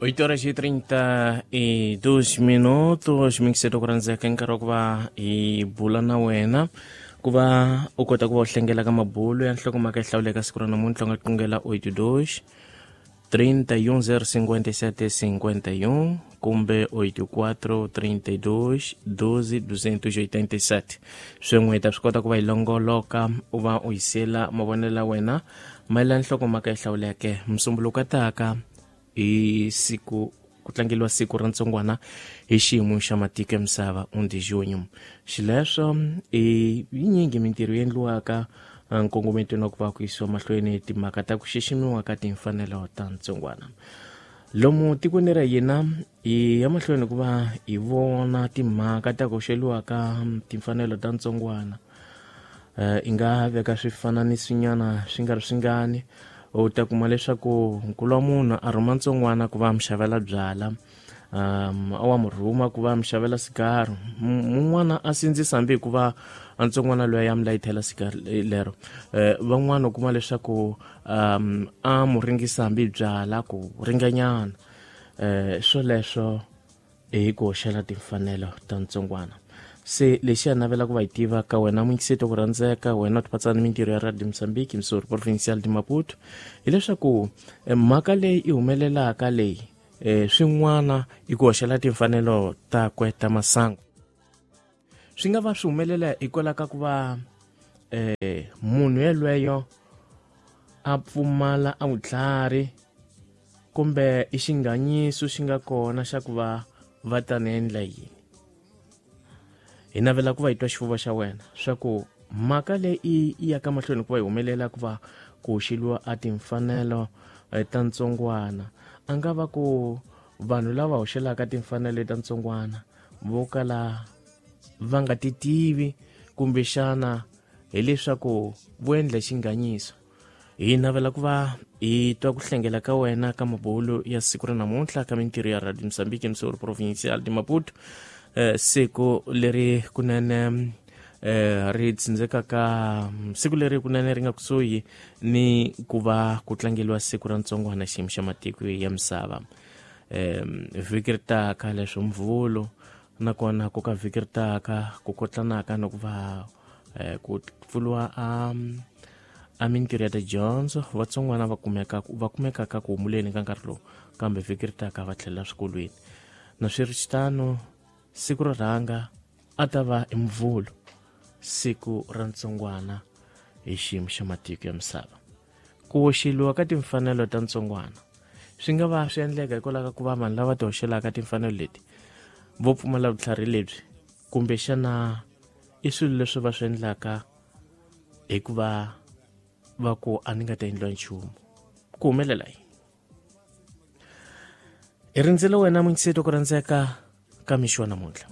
8 horas e 32 minutos mixeto ku rhandzeka nkarhi wa ku va hi bula na wena ku va u kota ku va u hlengela ka mabulo ya nhlokomhaka yi hlawuleka siku ra namuntlha u nga qungela 82 31 057 51 kumbe 84 32 12 287. Swin'we hi ta swi kota ku va hi longoloka u va u yisela mavonelo ya wena mayelana nhlokomhaka yi hlawuleke. Musumbuluko taka hi siku ku tlangeliwa siku ra ntsongwana hi xiyimo xa matiko ya misava 1 de junho. Xileswo i yinyingi mintirho yi endliwaka nkongometweni wa ku va ku yisiwa mahlweni timhaka ta ku xiximiwa ka timfanelo ta ntsongwana lomu tikweni ra hina. Hi ya mahlweni ku va hi vona timhaka ta ku hoxeliwa ka timfanelo ta ntsongwana. I nga veka swifananisinyana swi nga ri swingani, u ta kuma leswaku nkulu wa munhu a rhuma ntsongwana ku va mi xavela byala, a wa mu rhuma ku va mi xavela sigaro, mun'wana a sindzisa hambi hikuva a ntsongwana loyi ya mi layithela sigaro lero. Van'wana u kuma leswaku a mu ringisa hambi byala ku ringanyana. Swoleswo hi ku hoxela timfanelo ta ntsongwana. Se lexi a navela ku va hi tiva ka wena muyingiseti ku rhandzeka, wena u tipatsana ni mintirho ya Radio Mozambique Missouri Provincial de Maputo, hileswaku mhaka leyi i humelelaka leyi, swin'wana i ku hoxela timfanelo takwe ta masangu swi nga va swi humelela hikwalaho ka ku va munhu yelweyo a pfumala a vutlhari kumbe i xinganyiso xi nga kona xa ku va va ta ni endla yini. Hi navela ku va hi twa xifuva xa wena swa ku mhaka leyi i ya ka mahlweni ku va yi humelela ku va ku hoxeliwa a timfanelo ta ntsongwana, a nga va ku vanhu lava hoxelaka timfanelo ta ntsongwana vo kala va nga ti tivi, kumbexana hileswaku vo endla xinganyiso. Hi navela ku va hi twa ku hlengela ka wena ka mabulo ya siku ra namuntlha ka mintirho ya Radio Mozambique Missouri Provincial de Maputo, siku leri kunene ri tsindzekaka, siku leri kunene ri nga kusuhi ni ku va ku tlangeliwa siku ra ntsongwana xiyimo xa matiko ya misava. Vhiki ri taka leswo Mvhulo, nakona ku ka vhiki ri taka ku kotlanaka na ku va ku pfuriwa a mintirho ya tidyondzo, vatsongwana va kumekaka ku humuleni ka nkarhi lowu, kambe vhiki ri taka va tlhelela swikolweni. Na swi ri xitano, siku ro rhanga a ta va i Mvhulo, siku ra ntsongwana hi xiyimo xa matiko ya misava. Ku hoxeliwa ka timfanelo ta ntsongwana swi nga va swi endleka hikwalaho ka ku va vanhu lava ti hoxelaka timfanelo leti vo pfumala vutlhari lebyi, kumbexana i swilo leswi va swi endlaka hikuva va ku a ni nga ta endliwa nchumu. Ku humelela yini? Hi rindzele wena muyingiseti ku rhandzeka ka mixo wa namuntlha.